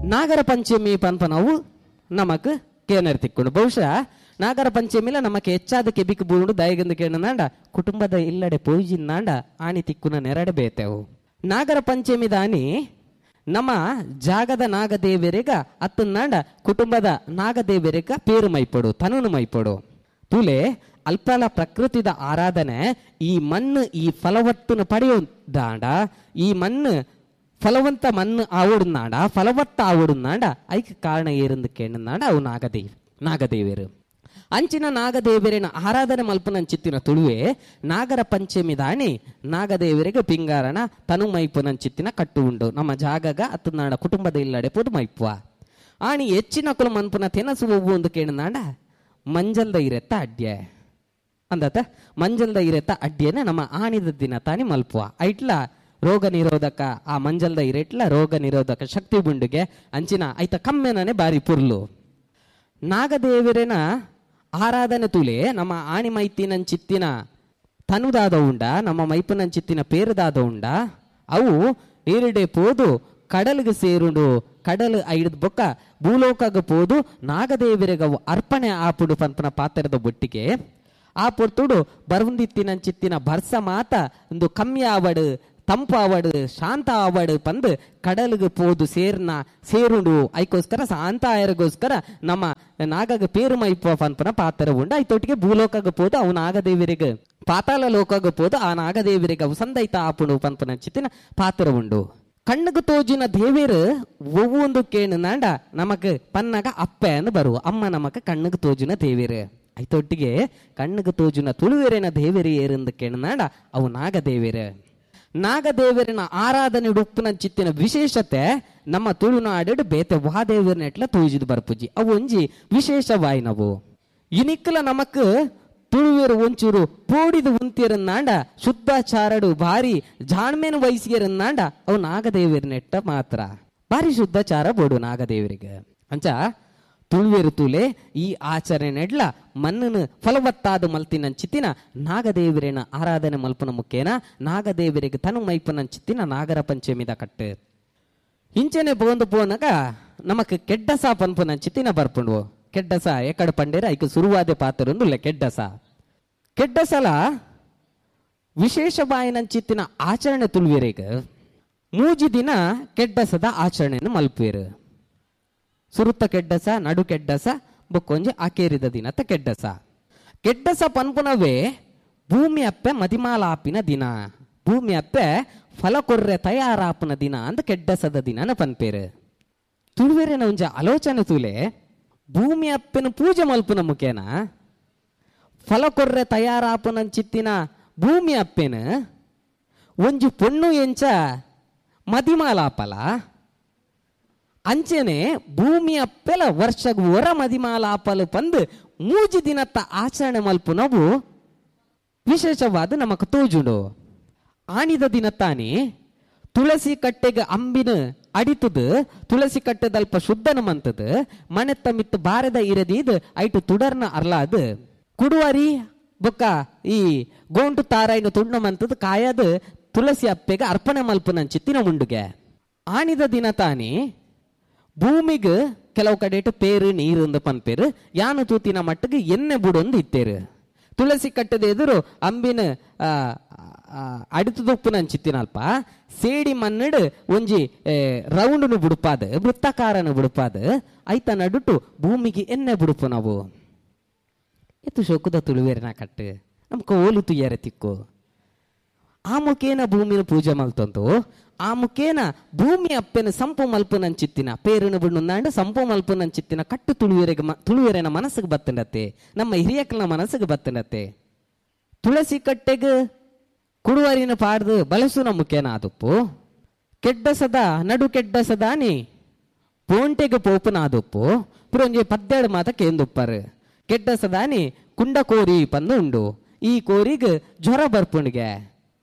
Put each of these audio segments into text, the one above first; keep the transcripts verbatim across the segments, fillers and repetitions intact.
Nagara Panchami ಪನ್ಪನವು ನಮಕ್ ಕೇನರ್ ತಿಕ್ಕೊಂಡು. ಬಹುಶಃ ನಾಗರ ಪಂಚಮಿಲ ನಮಕ್ ಹೆಚ್ಚಾದ ಕೆಬಿಕ್ ಬೂಂಡು ದಾಯಗಂದು ಕೇಣನಾಂಡ ಕುಟುಂಬದ ಇಲ್ಲಡೆ ಪೋಯಿಜಿನ್ನಾಂಡ ಆಣಿ ತಿಕ್ಕುನ ನೆರಡೆ ಬೇತೆವು. ನಾಗರ ಪಂಚಮಿ ದಾನಿ ನಮ್ಮ ಜಾಗದ ನಾಗದೇವರಿಗ ಅತ್ತನಾಂಡ ಕುಟುಂಬದ ನಾಗದೇವರಿಗ ಪೇರು ಮೈಪಡು ತನುನು ಮೈಪಡು. ತುಲೆ ಅಲ್ಪಲ ಪ್ರಕೃತಿದ ಆರಾಧನೆ ಈ ಮಣ್ಣು ಈ ಫಲವತ್ತನ್ನು ಪಡೆಯೋದಾಂಡ ಈ ಮಣ್ಣು ಫಲವಂತ ಮಣ್ಣು ಆವಡುನಾಡ ಫಲವತ್ತ ಆವಡುನಾಡ ಐಕ್ ಕಾರಣ ಏರಂದು ಕೇಣನಾಡ ಅವು ನಾಗದೇವಿ ನಾಗದೇವಿಯರು. ಅಂಚಿನ ನಾಗದೇವರಿನ ಆರಾಧನೆ ಮಲ್ಪನಂಚಿತ್ತಿನ ತುಳುವೆ ನಾಗರ ಪಂಚಮಿ ದಾಣಿ ನಾಗದೇವರಿಗೆ ಪಿಂಗಾರಣ ತನು ಮೈಪುನಂಚಿತ್ತಿನ ಕಟ್ಟು ಉಂಡು. ನಮ್ಮ ಜಾಗಗ ಅತ್ತನಾಡ ಕುಟುಂಬದ ಇಲ್ಲಡೆ ಪೊದು ಮೈಪುವ ಆಣಿ ಹೆಚ್ಚಿನ ಕುಲ ಮನ್ಪುನ ತೆನಸು ಒವ್ವು ಒಂದು ಕೇಣನಾಡ ಮಂಜಲ್ದ ಇರೆತ್ತ ಅಡ್ಯೆ ಅಂದತ ಮಂಜಲ್ದ ಇರೆತ್ತ ಅಡ್ಯೆನೆ ನಮ್ಮ ಆಣಿದ ದಿನ ತಾನಿ ಮಲ್ಪುವ. ಐಟ್ಲ ರೋಗ ನಿರೋಧಕ ಆ ಮಂಜಲ್ದ ಇರೆಟ್ಲ ರೋಗ ನಿರೋಧಕ ಶಕ್ತಿ ಬುಂಡುಗೆ ಅಂಚಿನ ಐತ ಕಮ್ಮೆನೇ ಬಾರಿ ಪುರ್ಲು. ನಾಗದೇವರಿನ ಆರಾಧನೆ ತುಲೆ ನಮ್ಮ ಆಣಿ ಮೈತಿನಂಚಿತ್ತಿನ ತನುದಾದ ಉಂಡ ನಮ್ಮ ಮೈಪುನಂಚಿತ್ತಿನ ಪೇರುದಾದ ಉಂಡ ಅವು ನೀರಿಡೆ ಪೋದು ಕಡಲಿಗೆ ಸೇರುಂಡು ಕಡಲು ಐದು ಬೊಕ್ಕ ಭೂಲೋಕಗ ಪೋದು ನಾಗದೇವರಿಗವು ಅರ್ಪಣೆ ಆಪುಡು ಪಂಪನ ಪಾತ್ರದ ಬೊಟ್ಟಿಗೆ ಆ ಪೊರ್ತುಡು ಬರುಂದಿತ್ತಿನಂಚಿತ್ತಿನ ಬರ್ಸ ಮಾತ ಒಂದು ಕಮ್ಮಿ ಆವಡು ತಂಪು ಆವಡು ಶಾಂತ ಆವಡು ಪಂದು ಕಡಲಿಗೆ ಪೋದು ಸೇರ್ನ ಸೇರುಂಡು. ಐಕೋಸ್ಕರ ಶಾಂತ ಆಯರಿಗೋಸ್ಕರ ನಮ್ಮ ನಾಗಗ ಪೇರು ಮೈಪುವ ಪಂಪನ ಪಾತ್ರ ಉಂಡು. ಐತೊಟ್ಟಿಗೆ ಭೂಲೋಕಗ ಪೋದು ಅವು ನಾಗದೇವರಿಗೆ ಪಾತಾಳ ಲೋಕಗ ಪೋದು ಆ ನಾಗದೇವರಿಗೆ ಅವು ಸಂದೈತ ಆಪುಡು ಪಂಪನ ಚಿತ್ತಿನ ಪಾತ್ರ ಉಂಡು. ಕಣ್ಣುಗು ತೋಜಿನ ದೇವೇರು ಒವ್ವೊಂದು ಕೇಣುನಾಂಡ ನಮಕ್ ಪನ್ನಗ ಅಪ್ಪೆ ಅಂದು ಬರುವ ಅಮ್ಮ ನಮಕ್ ಕಣ್ಣುಗು ತೋಜಿನ ದೇವೇರು. ಐತೊಟ್ಟಿಗೆ ಕಣ್ಣುಗು ತೋಜಿನ ತುಳುವೆರಿನ ದೇವೇರು ಏರೆಂದು ಕೇಣುನಾಂಡ ಅವು ನಾಗದೇವೇರು. ನಾಗದೇವರಿನ ಆರಾಧನೆ ಉಡುಪಿನ ಚಿತ್ತಿನ ವಿಶೇಷತೆ ನಮ್ಮ ತುಳುನಾಡು ಬೇತೆ ವಾದೇವರನ ಎಟ್ಲ ತೋಜಿದು ಬರ್ಪುಜಿ ಅವು ಒಂಜಿ ವಿಶೇಷವಾಯಿನವು. ಇನಿಕ್ಕಲ ನಮಕ್ ತುಳುವೆರು ಒಂಚೂರು ಪೋಡಿದು ಉಂತಿರನ್ನಾಂಡ ಶುದ್ಧಾಚಾರಡು ಭಾರಿ ಜಾಣ್ಮೇನು ವಯಸ್ಸಿಗೆರನ್ನಾಂಡ ಅವು ನಾಗದೇವರನೆಟ್ಟ ಮಾತ್ರ ಭಾರಿ ಶುದ್ಧಾಚಾರ ಬೋಡು ನಾಗದೇವರಿಗೆ. ಅಂಚ ತುಳುವೆರು ತುಲೆ ಈ ಆಚರಣೆ ನೆಡ್ಲ ಮಣ್ಣನ್ನು ಫಲವತ್ತಾದ ಮಲ್ತಿನ ಚಿತ್ತಿನ ನಾಗದೇವರಿನ ಆರಾಧನೆ ಮಲ್ಪನ ಮುಖೇನ ನಾಗದೇವರಿಗೆ ತನು ಮೈಪನ ಚಿತ್ತಿನ ನಾಗರ ಪಂಚಮಿದ ಕಟ್ಟು. ಇಂಚನೆ ಬಂದು ಪೋನಾಗ ನಮಕ್ ಕೆಡ್ಡಸ ಪನ್ಪುನ ಚಿತ್ತಿನ ಬರ್ಪುಂಡು. ಕೆಡ್ಡಸ ಎಕಡೆ ಪಂಡೇರ ಐಕ ಸುರುವಾದ ಪಾತ್ರೊಂದುಲ್ಲ ಕೆಡ್ಡಸ. ಕೆಡ್ಡಸಲ ವಿಶೇಷ ಬಾಯಿನಂಚಿತ್ತಿನ ಆಚರಣೆ ತುಳುವೆರಿಗೆ ಮೂಜಿ ದಿನ ಕೆಡ್ಡಸದ ಆಚರಣೆಯನ್ನು ಮಲ್ಪುವೆರು. ಸುರುತ್ತ ಕೆಡ್ಡಸ ನಡು ಕೆಡ್ಡಸ ಬೊಕ್ಕೊಂಜಿ ಆಕೇರಿದ ದಿನತ್ತ ಕೆಡ್ಡಸ. ಕೆಡ್ಡಸ ಪನ್ಪುನವೇ ಭೂಮಿ ಅಪ್ಪೆ ಮದಿಮಾಲಾಪಿನ ದಿನ, ಭೂಮಿ ಅಪ್ಪೆ ಫಲ ಕೊರ್ರೆ ತಯಾರಾಪುನ ದಿನ ಅಂದ ಕೆಡ್ಡಸದ ದಿನನ ಪನ್ಪೇರು. ತುಳುವೆರೆನ ಒಂಜಿ ಆಲೋಚನೆ ತುಲೆ ಭೂಮಿ ಅಪ್ಪೆನ ಪೂಜೆ ಮಲ್ಪುನ ಮುಖೇನ ಫಲ ಕೊರ್ರೆ ತಯಾರಾಪುನಂಚಿತ್ತಿನ ಭೂಮಿ ಅಪ್ಪೆನ ಒಂಜಿ ಪೊಣ್ಣು ಎಂಚ ಮದಿಮಾಲಾಪಲ ಅಂಚೆನೆ ಭೂಮಿ ಅಪ್ಪೆಲ ವರ್ಷಗ್ ಹೊರ ಮದಿಮಾಲಾಪಲು ಪಂದು ಮೂಜಿ ದಿನತ್ತ ಆಚರಣೆ ಮಲ್ಪುನವು ವಿಶೇಷವಾದ ನಮಕ್ ತೋಜುಂಡು. ಆಣಿದ ದಿನತ್ತಾನೆ ತುಳಸಿ ಕಟ್ಟೆಗೆ ಅಂಬಿನ ಅಡಿತದು ತುಳಸಿ ಕಟ್ಟೆದಲ್ಪ ಶುದ್ಧನ ಮಂತದ ಮನೆತ್ತ ಮಿತ್ತು ಬಾರದ ಇರದೀದ್ ಐಟು ತುಡರ್ನ ಅರ್ಲಾದು ಕುಡುವರಿ ಬೊಕ್ಕ ಈ ಗೋಂಟು ತಾರಾಯಿನ ತುಂಡು ಮಂತದ ಕಾಯದು ತುಳಸಿ ಅಪ್ಪೆಗೆ ಅರ್ಪಣೆ ಮಲ್ಪುನಂಚಿತ್ತಿನ ಉಂಡುಗೆ. ಆಣಿದ ದಿನ ತಾನೆ ಭೂಮಿಗೆ ಕೆಲವು ಕಡೆಟು ಪೇರು ನೀರು ಅಂದು ಪನ್ಪೇರು ಯಾನು ತೂತಿನ ಮಟ್ಟಿಗೆ ಎಣ್ಣೆ ಬುಡೊಂದು ಇತ್ತೇರು. ತುಳಸಿ ಕಟ್ಟದ ಎದುರು ಅಂಬಿನ ಅಡಿತದೊಪ್ಪುನಂಚಿತ್ತಿನಲ್ಪ ಸೇಡಿ ಮನ್ನಡು ಒಂಜಿ ರೌಂಡ್ನು ಬುಡುಪಾದ ವೃತ್ತಾಕಾರನು ಬುಡುಪಾದ ಐತ ನಡುಟು ಭೂಮಿಗೆ ಎಣ್ಣೆ ಬುಡುಪು ನಾವು. ಎತ್ತು ಶೋಕದ ತುಳುವೇರಿನ ಕಟ್ಟು ನಮ್ಕ ಓಲು ತುಯ್ಯಾರೆ ತಿಕ್ಕು. ಆ ಮುಖೇನ ಭೂಮಿನ ಪೂಜೆ ಮಲ್ತಂತು ಆ ಮುಖೇನ ಭೂಮಿ ಅಪ್ಪೆನ ಸಂಪು ಮಲ್ಪುನಂಚಿತ್ತಿನ ಪೇರುನ ಬುಣ್ಣುಂದಾಂಡ ಸಂಪು ಮಲ್ಪುನಂಚಿತ್ತಿನ ಕಟ್ಟು ತುಳುವೆರೆಗೆ ತುಳುವೆರೆನ ಮನಸ್ಸಿಗೆ ಬತ್ತಂಡತ್ತೆ, ನಮ್ಮ ಹಿರಿಯಕ್ಕನ ಮನಸ್ಸಿಗೆ ಬತ್ತಂಡತ್ತೆ. ತುಳಸಿ ಕಟ್ಟೆಗೆ ಕುಡುವರಿನ ಪಾಡ್ದು ಬಲಸುನ ಮುಖೇನ ಆದುಪ್ಪು ಕೆಡ್ಡಸದ ನಡು ಕೆಡ್ಡಸದಾನಿ ಪೋಂಟೆಗೆ ಪೋಪುನ ಆದುಪ್ಪು ಪುರೊಂಜಿ ಪದ್ದೆರಡು ಮಾತ ಕೇಂದುಪ್ಪರು. ಕೆಡ್ಡಸದಾನಿ ಕುಂಡ ಕೋರಿ ಪಂದು ಉಂಡು ಈ ಕೋರಿಗೆ ಜ್ವರ ಬರ್ಪುಣಿಗೆ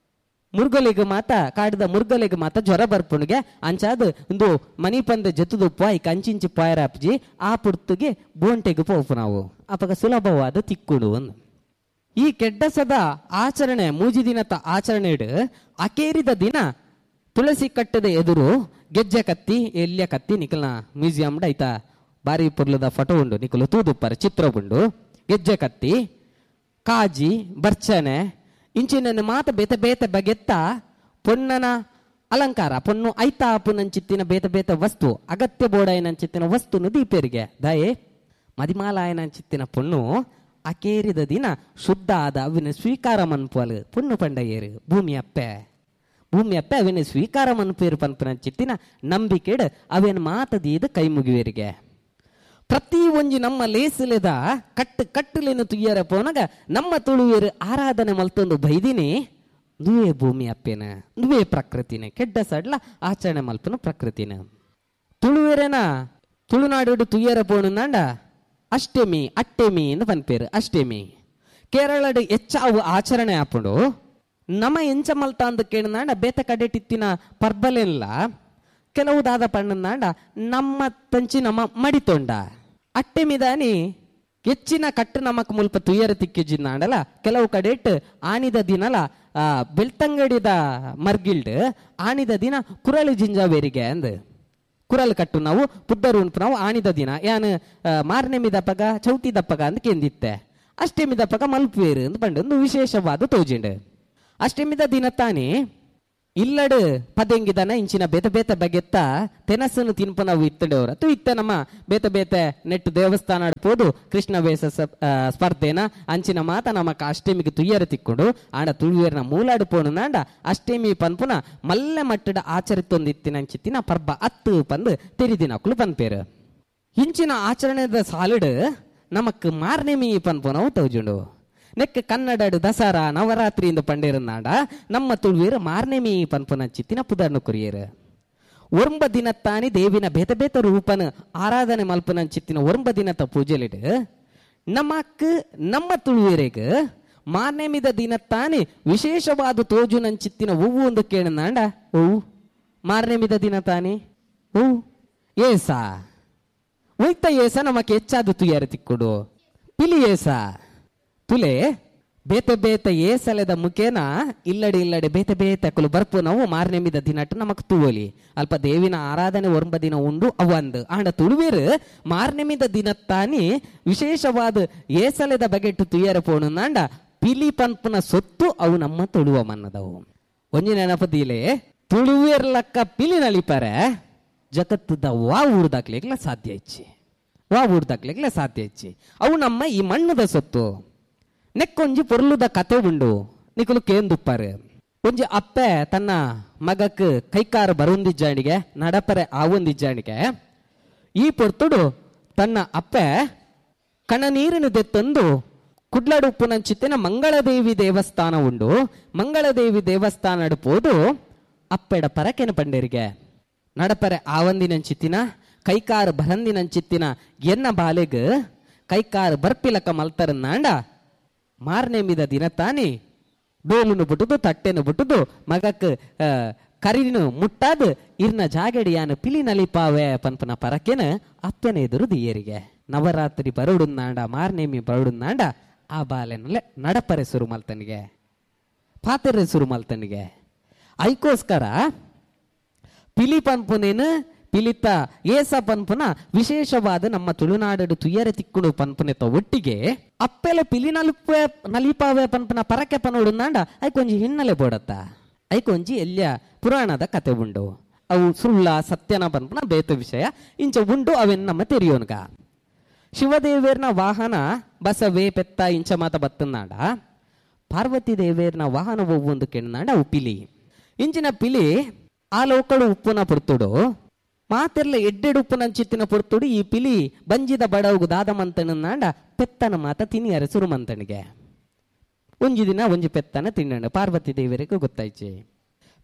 ಮುರುಗಲಿಗೆ ಮಾತ ಕಾಡಿದ ಮುರುಗಲಿಗೆ ಮಾತ ಜ್ವರ ಬರ್ಪುಣಿಗೆ ಅಂಚಾದ ಒಂದು ಮನಿ ಪಂದ ಜತ್ತುದುಪ್ಪ ಈ ಕಂಚಿಂಚಿ ಪಾಯರಾಪ್ಜಿ ಆ ಪುರ್ತುಗೆ ಬೋಂಟೆಗೆ ಪೋಪು ನಾವು ಅಪಗ ಸುಲಭವಾದ ತಿಕ್ಕುಡು. ಈ ಕೆಡ್ಡಸದ ಆಚರಣೆ ಮೂಜಿ ದಿನದ ಆಚರಣೆ ಅಕೇರಿದ ದಿನ ತುಳಸಿ ಕಟ್ಟದ ಎದುರು ಗೆಜ್ಜೆ ಕತ್ತಿ ಎಲ್ಯ ಕತ್ತಿ ನಿಕಲ್ನ ಮ್ಯೂಸಿಯಂ ಐತ ಬಾರಿ ಪೊರ್ಲದ ಫೋಟೋ ಉಂಡು, ನಿಕಲು ತೂದುಪ್ಪರ ಚಿತ್ರ ಉಂಡು. ಗೆಜ್ಜೆ ಕತ್ತಿ, ಕಾಜಿ, ಬರ್ಚನೆ ಇಂಚಿನ ಮಾತ ಬೇತೆ ಬೇತೆ ಬಗೆತ್ತ ಪೊಣ್ಣನ ಅಲಂಕಾರ, ಪೊಣ್ಣು ಐತ ಪುನಂಚಿತ್ತಿನ ಬೇತೆ ಬೇತೆ ವಸ್ತು, ಅಗತ್ಯ ಬೋಡಾಯನಂಚಿತ್ತಿನ ವಸ್ತುನು ದೀಪೇರಿಗೆ. ದಯೆ ಮದಿಮಾಲಾಯನಂಚಿತ್ತಿನ ಪೊಣ್ಣು ಅಕೇರಿದ ದಿನ ಶುದ್ಧ ಆದ ಅವಿನ ಸ್ವೀಕಾರ ಮನ್ಪುವಲು. ಪೊಣ್ಣು ಪಂಡಯ್ಯರು ಭೂಮಿ ಅಪ್ಪೆ, ಭೂಮಿ ಅಪ್ಪೆ ಅವಿನ ಸ್ವೀಕಾರ ಮನ್ಪೇರು ಪನ್ಪುನಂಚಿತ್ತಿನ ನಂಬಿಕೆಡ್ ಅವೇನು ಮಾತದೀದ ಕೈ ಮುಗಿವೇರಿಗೆ. ಪ್ರತಿ ಒಂಜಿ ನಮ್ಮ ಲೇಸಲೆದ ಕಟ್ಟು ಕಟ್ಟುಲೇನು ತುಯ್ಯರ ಪೋನಗ ನಮ್ಮ ತುಳುವೇರು ಆರಾಧನೆ ಮಲ್ತೊಂದು ಬೈದಿನಿ ನುವೇ ಭೂಮಿ ಅಪ್ಪೇನ, ನುವೇ ಪ್ರಕೃತಿನ, ಕೆಡ್ಡ ಸಡ್ಲ ಆಚರಣೆ ಮಲ್ಪನ ಪ್ರಕೃತಿನ. ತುಳುವೇರೇನ ತುಳುನಾಡು ತುಯ್ಯರ ಪೋಣಂದಾಂಡ ಅಷ್ಟಮಿ ಅಟ್ಟೆಮಿ ಎಂದು ಪನ್ಪೇರು. ಅಷ್ಟಮಿ ಕೇರಳಡು ಹೆಚ್ಚಾವು ಆಚರಣೆ ಆಪುಂಡು. ನಮ್ಮ ಎಂಚ ಮಲ್ತ ಅಂದ ಕೇಳಿದಾಂಡ ಬೇತ ಕಡೆಟಿತ್ತಿನ ಪರ್ಬಲೆಲ್ಲ ಕೆಲವು ದಾದ ಪಣ್ಣಂದಾಂಡ ನಮ್ಮ ತಂಚಿ ನಮ್ಮ ಮಡಿತೊಂಡ ಅಟ್ಟೆಮಿದಾನಿ ಹೆಚ್ಚಿನ ಕಟ್ಟು ನಮಕ್ ಮುಲ್ಪ ತುಯ್ಯರ ತಿಕ್ಕಿಜಿಂದಾಂಡಲ ಕೆಲವು ಕಡೆಟ್ ಆನಿದ ದಿನಲ ಆ ಬೆಳ್ತಂಗಡಿದ ಮರ್ಗಿಲ್ಡ್ ಆನಿದ ದಿನ ಕುರಳು ಜಿಂಜಾವೇರಿಗೆ ಅಂದ್ ಕುರಲ್ ಕಟ್ಟು ನಾವು ಪುದ್ದರು ಉಂಟು ನಾವು ಆನಿದ ದಿನ ಯಾನ್ ಮಾರನೆಮಿದಪ್ಪಗ ಚೌತಿ ದಪ್ಪಗ ಅಂತ ಕೆಂದಿತ್ತೆ. ಅಷ್ಟಮಿದಪ್ಪಗ ಮಲ್ಪುವೇರು ಅಂತ ಪಂಡ ಒಂದು ವಿಶೇಷವಾದ ತೋಜಿಂಡು. ಅಷ್ಟಮಿದ ದಿನ ತಾನೇ ಇಲ್ಲಡು ಪದೆಂಗಿದನ ಇಂಚಿನ ಬೇತೆ ಬೇತೆ ಬಗೆತ್ತ ತೆನಸನ್ನು ತಿನ್ಪ ನಾವು ಇತ್ತಂಡವ್ರ ತು ಇತ್ತ ನಮ್ಮ ಬೇತೆ ಬೇತೆ ನೆಟ್ಟು ದೇವಸ್ಥಾನ ಪೋದು ಕೃಷ್ಣ ವೇಷ ಸ್ಪರ್ಧೆನ ಅಂಚಿನ ಮಾತ ನಮಕ್ ಅಷ್ಟಮಿಗೆ ತುಯ್ಯರ ತಿಕ್ಕೊಂಡು ಆಂಡ ತುಳುವೇರ್ನ ಮೂಲಾಡು ಪೋಣುನಾಂಡ ಅಷ್ಟಮಿ ಪನ್ಪುನ ಮಲ್ಲೆ ಮಟ್ಟದ ಆಚರಿತೊಂದು ಇತ್ತಿನ ಅಂಚಿತ್ತಿನ ಪರ್ಬ ಅತ್ತು ಪಂದು ತೆರಿದಿನಕ್ಕಲು ಪನ್ಪೇರು. ಇಂಚಿನ ಆಚರಣೆದ ಸಾಲಿಡು ನಮಕ್ ಮಾರ್ನೆಮಿ ಪನ್ಪುನವು ತೌಜುಂಡು. ನೆಕ್ ಕನ್ನಡಡು ದಸರಾ ನವರಾತ್ರಿ ಇಂದು ಪಂಡೇರನಾಡ ನಮ್ಮ ತುಳುವೇರು ಮಾರ್ನೆಮಿ ಪನ್ಪುನ ಚಿತ್ತಿನ ಪುದರ್ನು ಕುರಿಯರು. ಒರ್ಂಬ ದಿನತ್ತಾನಿ ದೇವಿನ ಬೇತೆ ಬೇತೆ ರೂಪನ ಆರಾಧನೆ ಮಲ್ಪುನ ಚಿತ್ತಿನ ಒರ್ಂಬ ದಿನತ್ತ ಪೂಜೆಲಿಡು ನಮಕ್ ನಮ್ಮ ತುಳುವೇರೆಗ್ ಮಾರ್ನೆಮಿದ ದಿನತ್ತಾನಿ ವಿಶೇಷವಾದ ತೋಜುನಂಚಿತ್ತಿನ ಹೂವು ಒಂದು ಕೇಳನಾಂಡ ಹೂವು ಮಾರ್ನೆಮಿದ ದಿನ ತಾನಿ ಹೂವು ಏಸ ಒಯ್ತ ಏಸ ನಮಕ್ ಹೆಚ್ಚಾದ ತುಯ್ಯಾರ ತಿಕ್ಕುಡು ಪಿಲಿ ಏಸ ತುಲೆ ಬೇತೆ ಬೇತೆ ಏಸಲೆದ ಮುಖೇನ ಇಲ್ಲಡೆ ಇಲ್ಲಡೆ ಬೇತೆ ಬೇತೆ ಅಕಲು ಬರ್ಪು ನಾವು ಮಾರ್ನೆಮಿದ ದಿನಟ್ಟು ನಮಕ್ ತೂವಲಿ ಅಲ್ಪ ದೇವಿನ ಆರಾಧನೆ ಒರ್ಂಬ ದಿನ ಉಂಡು ಅವಂದು ಆಂಡ ತುಳುವೇರು ಮಾರ್ನೆಮಿದ ದಿನತ್ತಾನಿ ವಿಶೇಷವಾದ ಏಸಲೆದ ಬಗೆಟ್ಟು ತುಯ್ಯರ ಪೋಣುನಾಂಡ ಪಿಲಿ ಪನ್ಪುನ ಸೊತ್ತು ಅವು ನಮ್ಮ ತುಳುವ ಮನ್ನದವು. ಒಂಜಿ ನೆನಪದಿಲೆ ತುಳುವೇರ್ಲಕ್ಕ ಪಿಲಿ ನಲಿಪರೆ ಜಗತ್ತದ ವಾ ಊರ್ದಾಕ್ಲಿಕ್ಲ ಸಾಧ್ಯ ಇಚ್ಚಿ, ವಾ ಊರ್ದಾಕ್ಲಿಕ್ಲ ಸಾಧ್ಯ ಇಚ್ಚಿ. ಅವು ನಮ್ಮ ಈ ಮಣ್ಣದ ಸೊತ್ತು. ನೆಕ್ಕೊಂಜಿ ಪೊರ್ಲುದ ಕತೆ ಉಂಡು ನಿಕುಲು ಕೇಂದುಪ್ಪಾರು. ಒಂಜಿ ಅಪ್ಪೆ ತನ್ನ ಮಗಕ್ ಕೈಕಾರ ಬರುಂದಿಜ್ಜಾಣಿಗೆ ನಡಪರೆ ಆವೊಂದಿಜ್ಜಾಣಿಗೆ ಈ ಪೊರ್ತುಡು ತನ್ನ ಅಪ್ಪೆ ಕಣನೀರಿನ ದೆತ್ತೊಂದು ಕುಡ್ಲಡುಪ್ಪುನಂಚಿತ್ತಿನ ಮಂಗಳದೇವಿ ದೇವಸ್ಥಾನ ಉಂಡು. ಮಂಗಳದೇವಿ ದೇವಸ್ಥಾನ ಪೋದು ಅಪ್ಪೆಡ ಪರಕೆನ ಪಂಡೇರಿಗೆ ನಡಪರೆ ಆವಂದಿನಂಚಿತ್ತಿನ ಕೈಕಾರು ಬರಂದಿನಂಚಿತ್ತಿನ ಎನ್ನ ಬಾಲೆಗ್ ಕೈಕಾರು ಬರ್ಪಿಲಕ ಮಲ್ತರನ್ನಾಂಡ ಮಾರನೆಮಿದ ದಿನ ತಾನಿ ಡೋಲುನು ಬಿಟ್ಟುದು ತಟ್ಟೆನು ಬಿಟ್ಟುದು ಮಗಕ್ ಕರಿನು ಮುಟ್ಟಾದ ಇರ್ನ ಜಾಗಡಿಯಾನ ಪಿಲಿ ನಲಿಪಾವೆ ಪನ್ಪನ ಪರಕೆನ ಅಪ್ಪನ ಎದುರು ದಿಯರಿಗೆ. ನವರಾತ್ರಿ ಬರುಡುನ್ನಾಂಡ ಮಾರನೇಮಿ ಬರುಡುನ್ನಾಂಡ ಆ ಬಾಲೆನಲ್ಲೇ ನಡಪರೆ ಸುರು ಮಲ್ತನಿಗೆ ಪಾತೆರೆ ಸುರು ಮಲ್ತನಿಗೆ. ಐಕೋಸ್ಕರ ಪಿಲಿ ಪನ್ಪುನೇನು ಪಿಲಿತ ಏಸ ಪನ್ಪುನ ವಿಶೇಷವಾದ ನಮ್ಮ ತುಳುನಾಡು ತುಯ್ಯರೆ ತಿಕ್ಕುಡು ಪನ್ಪುನೆತ ಒಟ್ಟಿಗೆ ಅಪ್ಪೆಲ ಪಿಲಿ ನಲಿಪೆ ನಲಿಪಾವೆ ಪನ್ಪುನ ಪರಕೆ ಪನೋಡುನಾಂಡ ಐಕೊಂಜಿ ಹಿನ್ನೆಲೆ ಬೋಡತ್ತ ಐಕೊಂಜಿ ಎಲ್ಲಿಯ ಪುರಾಣದ ಕತೆ ಉಂಡು. ಅವು ಸುಳ್ಳ ಸತ್ಯನ ಪನ್ಪುನ ಬೇತ ವಿಷಯ ಇಂಚ ಉಂಡು ಅವೆನ್ ನಮ್ಮ ತೆರಿಯೋನ್ಗ. ಶಿವದೇವೇರ್ನ ವಾಹನ ಬಸವೇ ಪೆತ್ತ ಇಂಚ ಮಾತ ಬತ್ತನಾಡ ಪಾರ್ವತಿ ದೇವೇರ್ನ ವಾಹನ ಒವ್ವೊಂದು ಕೆಣ್ಣಾಂಡ ಅವು ಪಿಲಿ. ಇಂಚಿನ ಪಿಲಿ ಆ ಲೋಕಡು ಉಪ್ಪುನ ಪೊರ್ತುಡು ಮಾತೆರ್ಲ ಎಡ್ಡೆಡು ಉಪ್ಪುನಂಚಿತ್ತಿನ ಪೊರ್ತುಡು ಈ ಪಿಲಿ ಬಂಜಿದ ಬಡವುಗು ದಾದ ಮಂತಣ್ಣಾಂಡ ಪೆತ್ತನ ಮಾತ ತಿನಿಯರ ಸುರುಮಂತನಿಗೆ. ಒಂಜಿ ದಿನ ಒಂಜಿ ಪೆತ್ತನ ತಿನ್ನಂಡು ಪಾರ್ವತಿ ದೇವರಿಗೆ ಗೊತ್ತಾಯ್ಚಿ.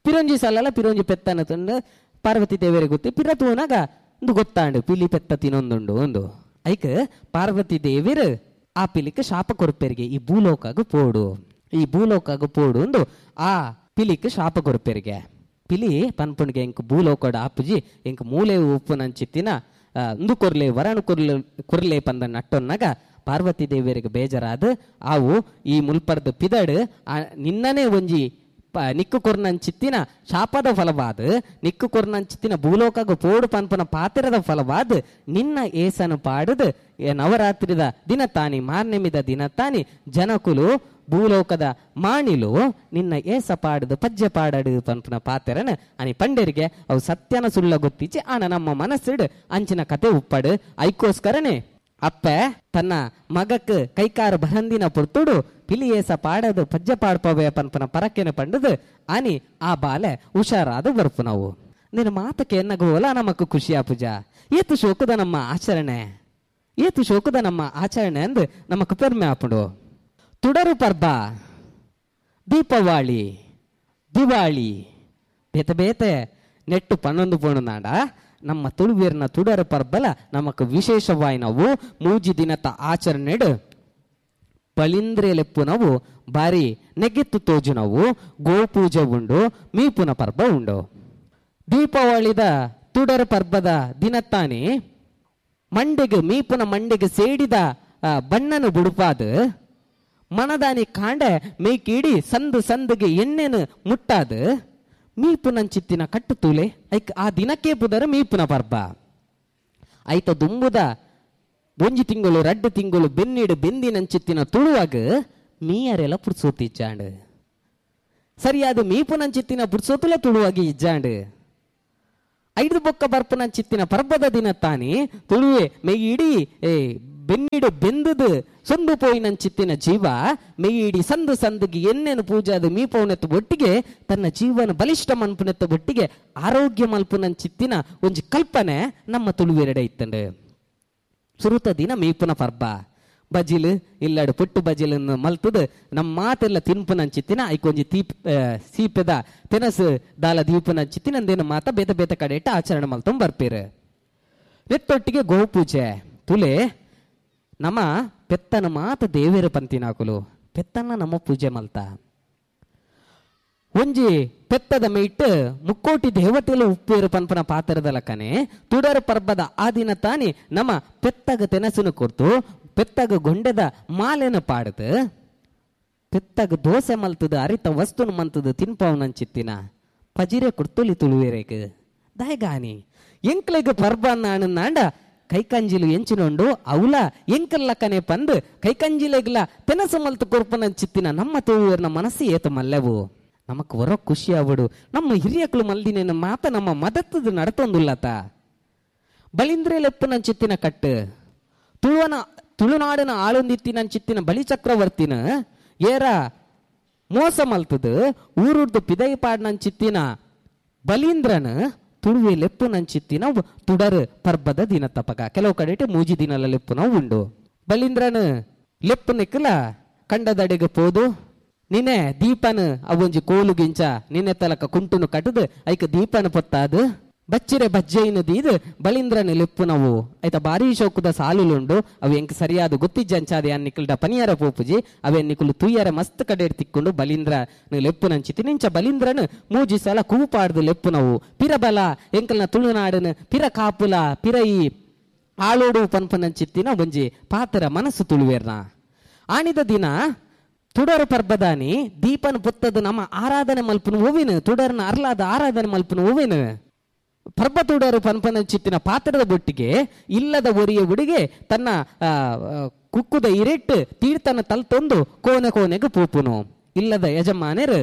ಪಿರೊಂಜಿ ಸಲಲ ಪಿರೊಂಜಿ ಪೆತ್ತನ ತಂದು ಪಾರ್ವತಿ ದೇವರಿಗೆ ಗೊತ್ತಿ ಪಿರ ತೂನಾಗ ಒಂದು ಗೊತ್ತಾಂಡು ಪಿಲಿ ಪೆತ್ತ ತಿನ್ನೊಂದುಂಡು ಒಂದು ಐಕ್ ಪಾರ್ವತಿ ದೇವಿರು ಆ ಪಿಲಿಕ್ ಶಾಪ ಕೊರ್ಪೆರಿಗೆ ಈ ಭೂಲೋಕಾಗು ಪೋಡು ಈ ಭೂಲೋಕಾಗು ಪೋಡು ಒಂದು ಆ ಪಿಲಿಕ್ ಶಾಪ ಕೊರ್ಪೆರಿಗೆ. ಪಿಲಿ ಪನ್ಪುಣಿಗೆ ಎಂಕ್ ಭೂಲೋಕಡ ಆಪುಜಿ ಎಂಕ್ ಮೂಲೆ ಉಪ್ಪು ನಂಚಿತ್ತಿನ ಒಂದು ಕೊರ್ಲೆ ವರಣ ಕೊರ್ಲೆ ಕೊರ್ಲೆ ಪಂದ ನಟ್ಟೊನ್ನಾಗ ಪಾರ್ವತಿ ದೇವಿಯರಿಗೆ ಬೇಜಾರಾದ ಆವು ಈ ಮುಲ್ಪರ್ದ ಪಿದಡು ಆ ನಿನ್ನನೇ ಒಂಜಿ ನಿಕ್ಕು ಕೊರ್ನಂಚಿತ್ತಿನ ಶಾಪದ ಫಲವಾದ ನಿಕ್ಕು ಕೊರ್ನಂಚಿತ್ತಿನ ಭೂಲೋಕಗ ಪೋಡು ಪನ್ಪನ ಪಾತ್ರದ ಫಲವಾದ ನಿನ್ನ ಏಸನು ಪಾಡದು ನವರಾತ್ರಿದ ದಿನ ತಾನಿ ಮಾರ್ನೆಮಿದ ದಿನ ತಾನಿ ಜನಕುಲು ಭೂಲೋಕದ ಮಾಣಿಲು ನಿನ್ನ ಏಸ ಪಾಡದು ಪಜ್ಜೆ ಪಾಡಡು ಪನ್ಪನ ಪಾತೆರನ ಅನಿ ಪಂಡರಿಗೆ ಅವು ಸತ್ಯನ ಸುಳ್ಳ ಗೊತ್ತಿಚ್ಚಿ ಆನ ನಮ್ಮ ಮನಸ್ಸಿಡು ಅಂಚಿನ ಕತೆ ಉಪ್ಪಡು. ಐಕೋಸ್ಕರನೇ ಅಪ್ಪೆ ತನ್ನ ಮಗಕ್ ಕೈಕಾರ ಬರಂದಿನ ಪುರ್ತುಡು ಪಿಲಿ ಏಸ ಪಾಡದು ಪಜ್ಜೆ ಪಾಡ್ಪವೆ ಪನ್ಪನ ಪರಕೆನ ಪಂಡದು ಅನಿ ಆ ಬಾಲೆ ಹುಷಾರಾದ ಬರ್ಪು. ನಾವು ನಿನ್ನ ಮಾತಕ್ಕೆ ಎನ್ನಗೋಲ ನಮಕ್ ಖುಷಿಯ ಪೂಜಾ ಏತು ಶೋಕದ ನಮ್ಮ ಆಚರಣೆ ಏತು ಶೋಕದ ನಮ್ಮ ಆಚರಣೆ ಅಂದು ನಮಕ್ ಪೆರ್ಮೆ ಆಪುಂಡು. ತುಡರು ಪರ್ಬ, ದೀಪಾವಳಿ, ದಿವಾಳಿ ಬೇತೆ ಬೇತೆ ನೆಟ್ಟು ಪನ್ನೊಂದು ಪೋಣು ನಾಡ ನಮ್ಮ ತುಳುವೀರ್ನ ತುಡರು ಪರ್ಬಲ ನಮಕ್ ವಿಶೇಷವಾಗಿ ನಾವು ಮೂಜಿ ದಿನದ ಆಚರಣೆಡು ಬಲಿಂದ್ರೆ ಲೆಪ್ಪು ನಾವು ಬಾರಿ ನೆಗೆತ್ತು ತೋಜು ನಾವು ಗೋಪೂಜೆ ಉಂಡು ಮೀಪುನ ಪರ್ಬ ಉಂಡು. ದೀಪಾವಳಿದ ತುಡರು ಪರ್ಬದ ದಿನತ್ತಾನೆ ಮಂಡೆಗೆ ಮೀಪುನ ಮಂಡೆಗೆ ಸೇಡಿದ ಬಣ್ಣನು ಬುಡುಪಾದ ಮನದಾನಿ ಕಾಂಡೆ ಮೇಕೀಡಿ ಸಂದು ಸಂದುಗೆ ಎಣ್ಣೆನು ಮುಟ್ಟಾದ ಮೀಪುನಂಚಿತ್ತಿನ ಕಟ್ಟು ತೂಲೆ ಐಕ್ ಆ ದಿನಕ್ಕೆ ಪುದರ ಮೀಪುನ ಪರ್ಬ. ಐತ ದುಂಬುದ ಒಂಜಿ ತಿಂಗಳು ರಡ್ಡು ತಿಂಗಳು ಬೆನ್ನಿಡು ಬೆಂದಿನಂಚಿತ್ತಿನ ತುಳುವಾಗ ಮೀಯರೆಲ್ಲ ಪುರ್ಸೋತಿ ಇಜ್ಜಾಂಡು ಸರಿಯಾದ ಮೀಪುನಂಚಿತ್ತಿನ ಪುರ್ಸೋತುಲ ತುಳುವಾಗಿ ಇಜ್ಜಾಂಡು. ಐದು ಬೊಕ್ಕ ಬರ್ಪುನಂಚಿತ್ತಿನ ಪರ್ಬದ ದಿನ ತಾನಿ ತುಳುವೆ ಮೆಯ್ಯಿಡಿ ಏ ಬೆನ್ನಿಡು ಬೆಂದುದು ಸೊಂದು ಪೋಯಿನಂಚಿತ್ತಿನ ಜೀವ ಮೆಯ್ಯಿಡಿ ಸಂದು ಸಂದುಗೆ ಎಣ್ಣೆನು ಪೂಜಾದ ಮೀಪೌನೆತ್ತ ಒಟ್ಟಿಗೆ ತನ್ನ ಜೀವನ ಬಲಿಷ್ಠ ಮನ್ಪುನೆತ್ತ ಒಟ್ಟಿಗೆ ಆರೋಗ್ಯ ಮಲ್ಪುನಂಚಿತ್ತಿನ ಒಂಜಿ ಕಲ್ಪನೆ ನಮ್ಮ ತುಳುವೆರಡೆ ಇತ್ತಂಡು. ಸುರುತ ದಿನ ಮೀಪುನ ಪರ್ಬ ಬಜಿಲು ಇಲ್ಲಡು ಪುಟ್ಟು ಬಜಿಲನ್ನು ಮಲ್ತದು ನಮ್ಮ ಮಾತೆಲ್ಲ ತಿನ್ಪುನಂಚಿತ್ತಿನ ಐಕೊಂಜಿ ತೀಪ್ ಸೀಪೆದ ತೆನಸು ದಾಲ ದೀಪನಂಚಿತ್ತಿನ ಅಂದೇನು ಮಾತ ಬೇತ ಬೇತ ಕಡೆ ಇಟ್ಟು ಆಚರಣೆ ಮಲ್ತೊಂಬ ಬರ್ಪೀರು. ನೆತ್ತೊಟ್ಟಿಗೆ ಗೋಪೂಜೆ ತುಲೆ ನಮ್ಮ ಪೆತ್ತನ ಮಾತ ದೇವೇರ ಪಂತಿನಾಕುಲು ಪೆತ್ತನ್ನ ನಮ್ಮ ಪೂಜೆ ಮಲ್ತ ಒಂಜಿ ಪೆತ್ತದ ಮೇಟ್ ಮುಕ್ಕೋಟಿ ದೇವತೆಲು ಉಪ್ಪೇರು ಪನ್ಪನ ಪಾತ್ರದ ಲಕ್ಕನೆ ತುಡರ ಪರ್ಬದ ಆ ದಿನ ತಾನಿ ನಮ್ಮ ಪೆತ್ತಗ ತೆನಸುನು ಕೊರ್ತು ಪೆತ್ತಗ ಗೊಂಡೆದ ಮಾಲೆನ ಪಾಡದು ಪೆತ್ತಗ ದೋಸೆ ಮಲ್ತದ ಅರಿತ ವಸ್ತುನು ಮಂತದ ತಿನ್ಪವನಂಚಿತ್ತಿನ ಪಜಿರೆ ಕೊಡ್ತೊಲಿ ತುಳುವೇರೇಕ್ ದಾಯಗಾನಿ ಎಂಕ್ಲೆಗ್ ಪರ್ಬ ನಾಂಡ ಕೈಕಂಜಿಲು ಎಂಚಿನೊಂಡು ಅವಲ ಎಂಕಲ್ಲಕ್ಕನೆ ಪಂದು ಕೈಕಂಜಿಲೆಗ್ಲ ತೆನಸು ಮಲ್ತು ಕೊರ್ಪನಂಚಿತ್ತಿನ ನಮ್ಮ ತುಳುವೇರ್ನ ಮನಸ್ಸು ಏತ ಮಲ್ಲೆವು ನಮಕ್ ಹೊರ ಖುಷಿ ಆವಡು ನಮ್ಮ ಹಿರಿಯಕ್ಲು ಮಲ್ದಿನ ಮಾತ ನಮ್ಮ ಮದತ್ತದು ನಡತೊಂದುಲ್ಲತ. ಬಲಿಂದ್ರೆ ಲೆಪ್ಪುನಂಚಿತ್ತಿನ ಕಟ್ಟು ತುಳುವನ ತುಳುನಾಡಿನ ಆಳೊಂದಿತ್ತಿನಂಚಿತ್ತಿನ ಬಲಿ ಚಕ್ರವರ್ತಿನ ಏರ ಮೋಸ ಮಲ್ತದು ಊರುರ್ದು ಪಿದೈ ಪಾಡ್ನಂಚಿತ್ತಿನ ಬಲೀಂದ್ರನ ತುಳುವೆ ಲೆಪ್ಪುನಂಚಿತ್ತಿನ ತುಡರು ಪರ್ಬದ ದಿನ ತಪಕ ಕೆಲವು ಕಡೆ ಮೂಜಿ ದಿನಲ ಲೆಪ್ಪುನ ಉಂಡು. ಬಲೀಂದ್ರನ ಲೆಪ್ಪು ನಿಕ್ಕಲ ಕಂಡದಡೆಗೆ ಪೋದು ನಿನ್ನೆ ದೀಪನ ಅವೊಂಜಿ ಕೋಲು ಗಿಂಚ ನಿನ್ನೆ ತಲಕ ಕುಂಟುನು ಕಟ್ಟದು ಐಕ ದೀಪನ ಪೊತ್ತಾದು ಬಚ್ಚಿರೆ ಬಜ್ಜೆಯನ್ನು ದೀದು ಬಲೀಂದ್ರನ ಲೆಪ್ಪು ನಾವು ಆಯ್ತಾ ಭಾರಿ ಶೋಕದ ಸಾಲುಲುಂಡು ಅವು ಎಂಕ್ ಸರಿಯಾದ ಗೊತ್ತಿಜ್ಜಂಚಾದೆ ನಿಕ್ಕಲ್ಡ ಪನಿಯಾರ ಪೋಪುಜಿ ಅವೇ ನಿಕ್ಕಲು ತುಯ್ಯರ ಮಸ್ತ್ ಕಡೆ ತಿಕ್ಕೊಂಡು ಬಲೀಂದ್ರ ಲೆಪ್ಪು ನಂಚಿತಿ ನಿಂಚ ಬಲೀಂದ್ರನ ಮೂಜಿ ಸಲ ಕೂಪಾಡ್ದು ಲೆಪ್ಪು ನಾವು ಪಿರಬಲ ಎಂಕಲ್ನ ತುಳುನಾಡನ ಪಿರ ಕಾಪುಲ ಪಿರ ಈ ಆಳೋಡು ಪನ್ಪನಂಚಿತ್ತಿನ ಒಂಜಿ ಪಾತ್ರ ಮನಸ್ಸು ತುಳುವೇರ್ನ. ಆಣಿದ ದಿನ ತುಡರ ಪರ್ಬದಾನಿ ದೀಪನ ಪುತ್ತದ ನಮ್ಮ ಆರಾಧನೆ ಮಲ್ಪನ ಹೂವಿನ ತುಡರನ ಅರ್ಲಾದ ಆರಾಧನೆ ಮಲ್ಪನ ಹೂವಿನ ಪರ್ಬ ತುಡರು ಪನ್ಪನಂಚಿತ್ತಿನ ಪಾತ್ರದ ಬೊಟ್ಟಿಗೆ ಇಲ್ಲದ ಒರಿಯ ಉಡಿಗೆ ತನ್ನ ಕುಕ್ಕುದ ಇರೆಟ್ಟು ತೀರ್ಥನ ತಲ್ತೊಂದು ಕೋನೆ ಕೋನೆಗೆ ಪೂಪುನು. ಇಲ್ಲದ ಯಜಮಾನರು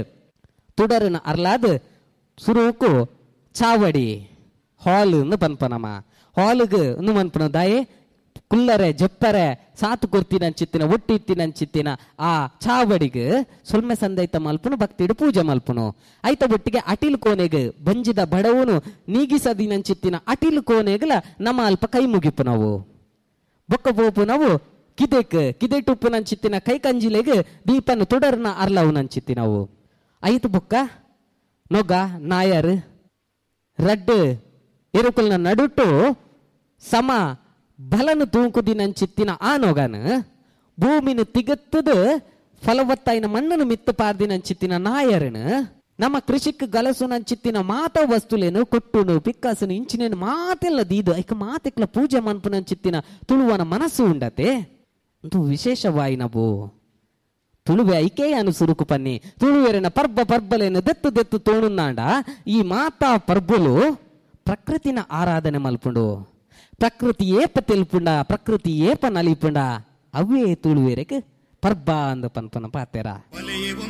ತುಡರನ ಅರ್ಲಾದ ಸುರುಕು ಚಾವಡಿ ಹಾಲ್ ಪನ್ಪನಮ್ಮ ಹಾಲ್ಗೆ ಒಂದು ಮನ್ಪನ ದಾಯೆ ಕುಲ್ಲರೆ ಜಪ್ಪರೆ ಸಾತು ಕೊರ್ತಿನಂಚಿತ್ತಿನ ಒಟ್ಟಿತ್ತಿನಂಚಿತ್ತಿನ ಆ ಚಾವಡಿಗೆ ಸೊಲ್ಮೆ ಸಂದೈತ ಮಲ್ಪುನು ಭಕ್ತಿಡು ಪೂಜೆ ಮಲ್ಪುನು. ಐತ ಒಟ್ಟಿಗೆ ಅಟಿಲ್ ಕೋನೆಗೆ ಬಂಜಿದ ಬಡವನು ನೀಗಿಸದಿನಂಚಿತ್ತಿನ ಅಟಿಲ್ ಕೋನೆಗಲ ನಮ್ಮ ಅಲ್ಪ ಕೈ ಮುಗಿಪು ನಾವು ಬೊಕ್ಕ ಪೋಪು ನಾವು ಕಿದೆಕ್ ಕಿದೆಟುಪ್ಪುನಂಚಿತ್ತಿನ ಕೈ ಕಂಜಿಲೆಗ್ ದೀಪನ ತುಡರ್ನ ಅರ್ಲವುನಂಚಿತ್ತಿ ನಾವು. ಐತು ಬೊಕ್ಕ ನೊಗ ನಾಯರ್ ರಡ್ಡು ಎರುಕುಲ್ನ ನಡುಟು ಸಮ ಬಲನು ತೂಂಕುದಿನಂಚಿತ್ತಿನ ಆ ನೊಗನ ಭೂಮಿನ ತಿಗತ್ತದು ಫಲವತ್ತಾಯಿನ ಮಣ್ಣನ್ನು ಮಿತ್ತು ಪಾರ್ದಿನಂಚಿತ್ತಿನ ನಾಯರನು ನಮ್ಮ ಕೃಷಿಕ್ ಗಲಸುನಂಚಿತ್ತಿನ ಮಾತ ವಸ್ತುಲೇನು ಕೊಟ್ಟುನು ಪಿಕ್ಕಾಸನು ಇಂಚಿನೇನು ಮಾತೆಲ್ಲ ದೀದು ಐಕ ಮಾತೆಕ್ಲ ಪೂಜೆ ಮನ್ಪುನಂಚಿತ್ತಿನ ತುಳುವನ ಮನಸ್ಸು ಉಂಡತೆ ಅಂತೂ ವಿಶೇಷವಾಯಿನವು. ತುಳುವೆ ಐಕೆ ಅನು ಸುರುಕು ಪನ್ನಿ ತುಳುವೆರೆನ ಪರ್ಬ ಪರ್ಬಲೇನ ದೆತ್ತು ದೆತ್ತು ತೋಣುಂದಾಂಡ ಈ ಮಾತಾ ಪರ್ಬಲು ಪ್ರಕೃತಿನ ಆರಾಧನೆ ಮಲ್ಪುಂಡು. ಪ್ರಕೃತಿ ಏಪ ತೆಲ್ಪುಂಡ, ಪ್ರಕೃತಿ ಏಪ ನಲಿಪುಂಡ ಅವೇ ತುಳುವೆರೆಗ್ ಪರ್ಬ ಅಂದ್ ಪನ್ಪನ ಪಾತೆರ.